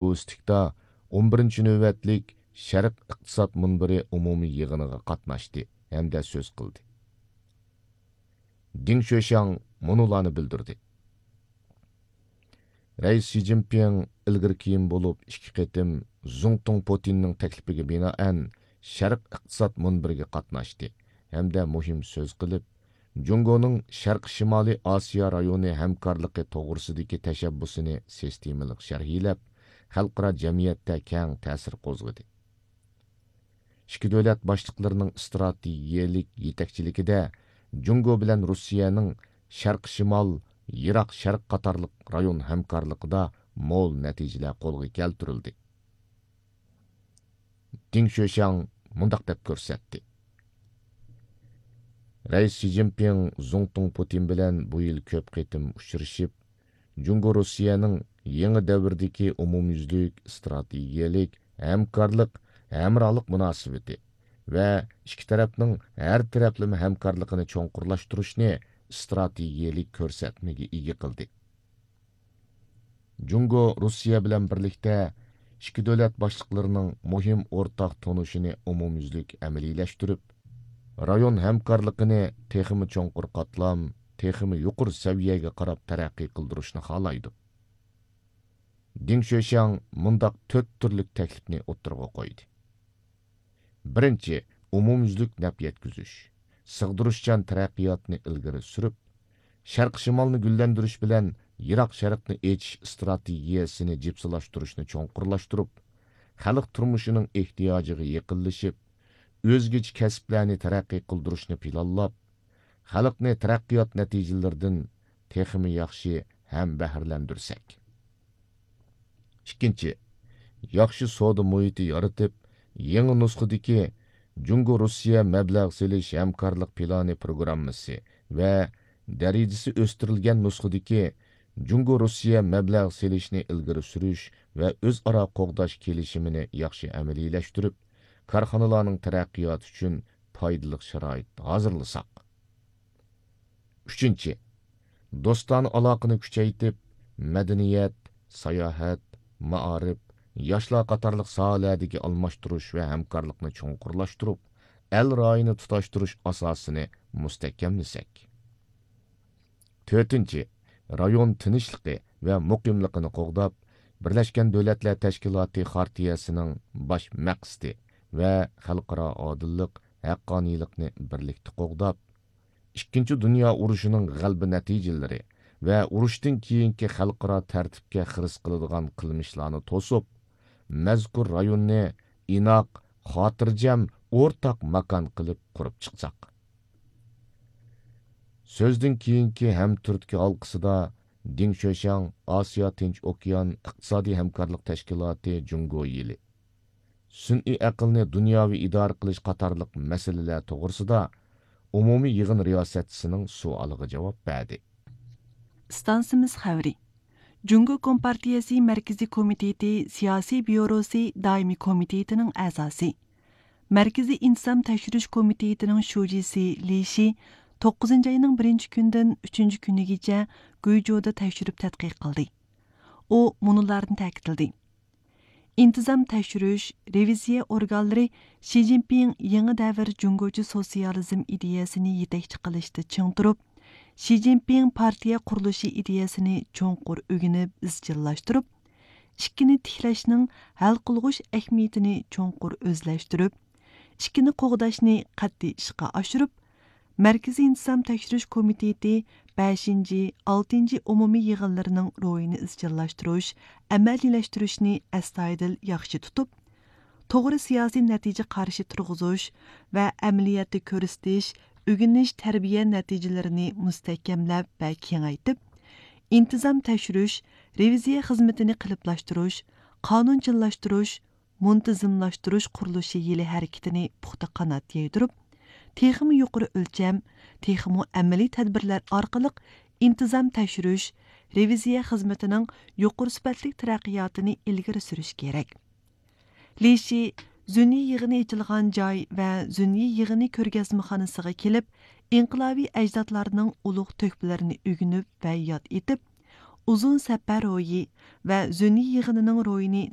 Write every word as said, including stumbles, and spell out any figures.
ئۇستىكتا ئون بىرىنچى نۆۋەتلىك شەرق ئىقتىساد مۇنبىرى ئومۇمىي يىغىنىغا قاتناشتى ھەمدە سۆز قىلدى. دېڭ شۆشياڭ مۇنۇلارنى بىلدۈردى. رەئىس شى جىنپىڭ ئىلگىرى كېيىن بولۇپ ئىككى قېتىم زۇڭتۇڭ پۇتىننىڭ تەكلىپىگە بىنائەن شەرق ئىقتىساد مۇنبىرىگە قاتناشتى ھەمدە مۇھىم سۆز قىلىپ، جۇڭگونىڭ شەرقىي شىمالىي ئاسىيا رايونى ھەمكارلىقى توغرىسىدىكى تەشەببۇسىنى سىستېمىلىق شەرھلەپ، خەلقئارا جەمئىيەتتە كەڭ تەسىر قوزغىدى. ئىككى دۆلەت باشلىقلىرىنىڭ ئىستراتېگىيەلىك يېتەكچىلىكىدە جۇڭگو بىلەن روسىيەنىڭ شەرقىي شىمال، يىراق شەرق قاتارلىق رايون ھەمكارلىقىدا مول نەتىجىلەر قولغا كەلتۈرۈلدى. دېڭ شۆشياڭ مۇنداق دەپ كۆرسەتتى. رەئىس شى جىنپىڭ زۇڭتۇڭ پۇتىن بىلەن بۇ يىل كۆپ قېتىم ئۇچرىشىپ، جۇڭگو روسىيەنىڭ يېڭى دەۋردىكى ئومۇميۈزلۈك ئىستراتېگىيەلىك ھەمكارلىق، ھەمراھلىق مۇناسىۋىتى ۋە ئىككى تەرەپنىڭ ھەر تەرەپلىمە ھەمكارلىقىنى چوڭقۇرلاشتۇرۇشنى ئىستراتېگىيەلىك كۆرسەتمىگە ئىگە قىلدى. جۇڭگو روسىيە بىلەن بىرلىكتە ئىككى دۆلەت باشلىقلىرىنىڭ مۇھىم ئورتاق تونۇشىنى ئومۇميۈزلۈك ئەمەلىيلەشتۈرۈپ، رايون ھەمكارلىقىنى تېخىمۇ چوڭقۇر قاتلام، تېخىمۇ يۇقىرى سەۋىيەگە قاراپ تەرەققىي قىلدۇرۇشنى خالايدۇ. دېڭ شۆشياڭ مۇنداق تۆت تۈرلۈك تەكلىپنى ئوتتۇرىغا قويدى. بىرىنچى، ئومۇميۈزلۈك نەپ يەتكۈزۈش، سىغدۇرۇشچان تەرەققىياتنى ئىلگىرى سۈرۈپ، شەرقىي شىمالنى گۈللەندۈرۈش بىلەن يىراق شەرقنى ئېچىش ئىستراتېگىيەسىنى جىپسىلاشتۇرۇشنى چوڭقۇرلاشتۇرۇپ، خەلق تۇرمۇشىنىڭ ئېھتىياجىغا يېقىنلىشىپ، ئۆزگىچە كەسىپلەرنى تەرەققىي قىلدۇرۇشنى پىلانلاپ، خەلقنى تەرەققىيات نەتىجىلىرىدىن تېخىمۇ ياخشى ھەم بەھرىلەندۈرسەك. ئىككىنچى، ياخشى سودا مۇھىتى يارىتىپ، يېڭى نۇسخىدىكى جۇڭگو روسىيە مەبلەغ سېلىش ھەمكارلىق پىلانى پروگراممىسى ۋە دەرىجىسى ئۆستۈرۈلگەن نۇسخىدىكى جۇڭگو روسىيە مەبلەغ سېلىشنى ئىلگىرى سۈرۈش ۋە ئۆزئارا قوغداش كېلىشىمىنى ياخشى ئەمەلىيلەشتۈرۈپ، كارخانىلارنىڭ تەرەققىياتى ئۈچۈن پايدىلىق شارائىت ھازىرلىساق. ئۈچىنچى، دوستانە ئالاقىنى كۈچەيتىپ، مەدەنىيەت، ساياھەت، مائارىپ، ياشلار قاتارلىق ساھەلەردىكى ئالماشتۇرۇش ۋە ھەمكارلىقنى چوڭقۇرلاشتۇرۇپ، ئەل رايىنى تۇتاشتۇرۇش ئاساسىنى مۇستەھكەملىسەك. تۆتىنچى، رايون تىنچلىقى ۋە مۇقىملىقىنى قوغداپ، بىرلەشكەن دۆلەتلەر تەشكىلاتى خارتىيەسىنىڭ باش مەقسىتى ۋە خەلقئارا ئادىللىق، ھەققانىيلىقنى بىرلىكتە قوغداپ، ئىككىنچى دۇنيا ئۇرۇشىنىڭ غەلىبە نەتىجىلىرى ۋە ئۇرۇشتىن كېيىنكى خەلقئارا تەرتىپكە خىرىس قىلىدىغان قىلمىشلارنى توسۇپ، مەزكۇر رايوننى ئىناق، خاتىرجەم، ئورتاق ماكان قىلىپ قۇرۇپ چىقساق. سۆزدىن كېيىنكى ھەمتۈرتكە ھالقىسىدا دېڭ شۆشياڭ ئاسىيا تىنچ ئوكيان ئىقتىسادىي ھەمكارلىق تەشكىلاتى جۇڭگو يىلى، سۈنئىي ئەقىلنى دۇنياۋى ئىدارە قىلىش قاتارلىق مەسىلىلەر توغرىسىدا ئومۇمىي يىغىن رىياسەتچىسىنىڭ سوئالىغا جاۋاب بەردى. ئىستانسىمىز خەۋىرى. جۇڭگو كومپارتىيەسى مەركىزىي كومىتېتى سىياسىي بيۇروسى دائىمىي كومىتېتىنىڭ ئەزاسى، مەركىزىي ئىنتىزام تەكشۈرۈش كومىتېتىنىڭ شۇجىسى لى شى توققۇزىنچى ئاينىڭ بىرىنچى كۈنىدىن ئۈچىنچى كۈنىگىچە گۇيجۇدا تەكشۈرۈپ تەتقىق قىلدى. ئۇ مۇنۇلارنى تەكىتلىدى: ئىنتىزام تەكشۈرۈش، رېۋىزىيە ئورگانلىرى شى جىنپىڭ يېڭى دەۋر جۇڭگوچە سوتسىيالىزم ئىدىيەسىنى يېتەكچى قىلىشتا چىڭ تۇرۇپ، شى جىنپىڭ پارتىيە قۇرۇلۇشى ئىدىيەسىنى چوڭقۇر ئۆگىنىپ ئىزچىللاشتۇرۇپ، ئىككىنى تىكلەشنىڭ ھەل قىلغۇچ ئەھمىيىتىنى چوڭقۇر ئۆزلەشتۈرۈپ، ئىككىنى قوغداشنى قەتئىي ئىشقا ئاشۇرۇپ، مەركىزىي ئىنتىزام تەكشۈرۈش كومىتېتى بەشىنچى، ئالتىنچى ئومۇمىي يىغىنلىرىنىڭ روھىنى ئىزچىللاشتۇرۇش، ئەمەلىيلەشتۈرۈشنى ئەستايىدىل ياخشى تۇتۇپ، توغرا سىياسىي نەتىجە قارىشى تۇرغۇزۇش ۋە ئەمەلىيەتتە كۆرسىتىش، ئۆگىنىش، تەربىيە نەتىجىلىرىنى مۇستەھكەملەپ ۋە كېڭەيتىپ، ئىنتىزام تەكشۈرۈش، رېۋىزىيە خىزمىتىنى قېلىپلاشتۇرۇش، قانۇنچىللاشتۇرۇش، مۇنتىزىملاشتۇرۇش قۇرۇلۇشى يىلى ھەرىكىتىنى پۇختا قانات يايدۇرۇپ، تېخىمۇ يۇقىرى ئۆلچەم، تېخىمۇ ئەمەلىي تەدبىرلەر ئارقىلىق ئىنتىزام تەكشۈرۈش، رېۋىزىيە خىزمىتىنىڭ يۇقىرى سۈپەتلىك تەرەققىياتىنى ئىلگىرى سۈرۈش كېرەك. لى شى زۈننى يىغىنى ئېچىلغان جاي ۋە زۈننى يىغىنى كۆرگەزمىخانىسىغا كېلىپ، ئىنقىلابىي ئەجدادلارنىڭ ئۇلۇغ تۆھپىلىرىنى ئۆگىنىپ ۋە ياد ئېتىپ، ئۇزۇن سەپەر روھى ۋە زۈننى يىغىنىنىڭ روھىنى